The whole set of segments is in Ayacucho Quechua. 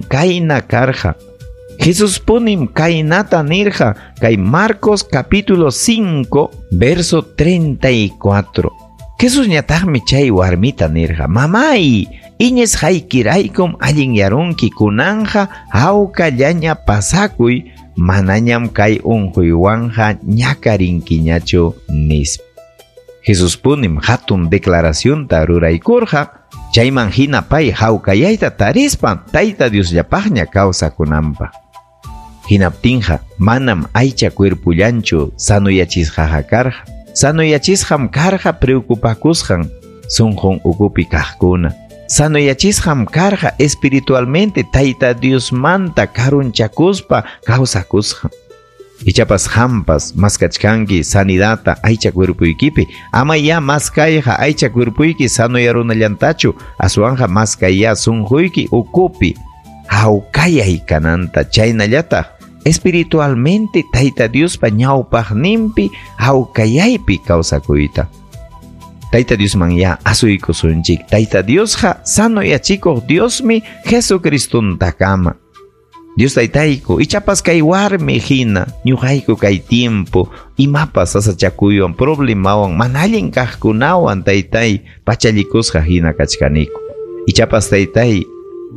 kayna karqa. Jesuspunim kaynata nirqa kay Marcos capítulo 5 verso 34. Jesusñataqmi chay warmita nirqa: "Mamay, iñisqaykiraykum allinyarunki, kunanja hawkallaña pasakuy, manañam kay unquywanqa ñakarinkiñachu", nispa. Jesuspunim hatun declaracionta ruraykurqa, chayman hina pay hawkayayta tarispa Tayta Diosllapaqña kawsakunanpaq. Hinaptinqa manam aycha cuerpullanchu sanuyachisqaqa karqa. Sanuyachisqam karqa preocupakusqan sunqun ukupi kaqkuna. Sanuyachisqam karqa espiritualmente Tayta Diosmanta karunchakuspa kawsakusqan. Ichapas hampas maskachkanki sanidata aycha cuerpuykipi, ama ya maskayqa aycha cuerpuyki sanuyarunallantachu, aswanqa maskayya sunquyki ukupi hawkayay kananta, chaynallataq espiritualmente Tayta Diospa ñawpaqninpi hawkayaypi kawsakuyta. Tayta Diosman ya asuykusunchik. Tayta Diosqa sanuyachikuq Diosmi Jesucristontakama. Dios taytayku, ichapas kay warmi hina, ñuqayku kay tiempo, imapas sasachakuywan, problemawan, mana allin kaqkunawan taytay pachallikusqa hina kachkaniku. Ichapas taytay,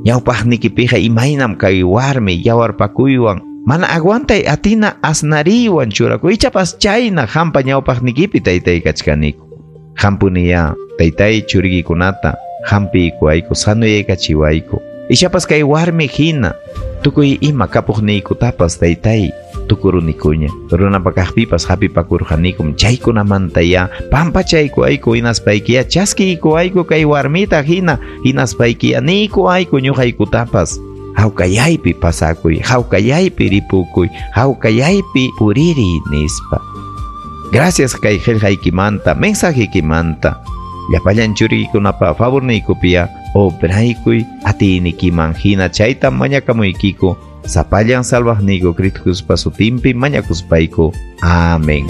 ñawpaqnikipiqa imaynam kay warmi yawarpakuywan, mana aguantay atina asnariywan churakuy, ichapas chayna hampa ñawpaqnikipi taytay kachkaniku. Hampuniya, taytay churikikunata, hampiykuwayku, sanuyaykachiwayku. Ichapas kay warmi hina, tukuy ima kapuqniykutapas taytay tukurunikuña. Runapa kaqpipas hapipakurqanikum, chaykunamanta ya pampachaykuwayku, hinaspaykiya chaskiykuwayku kay warmita hina, hinaspaykiya niykuwayku ñuqaykutapas. Hawkayaypi pasakuy, hawkayaypi ripukuy, hawkayaypi puririy nispa. Gracias kay qillqaykimanta, mensajeykimanta. Llapallan churiykunapa favorniykupia obraykuy atiynikiman hina chayta mañakamuykiku sapallan salvaqniyku Cristo Jesuspa sutinpi mañakuspayku. Amén.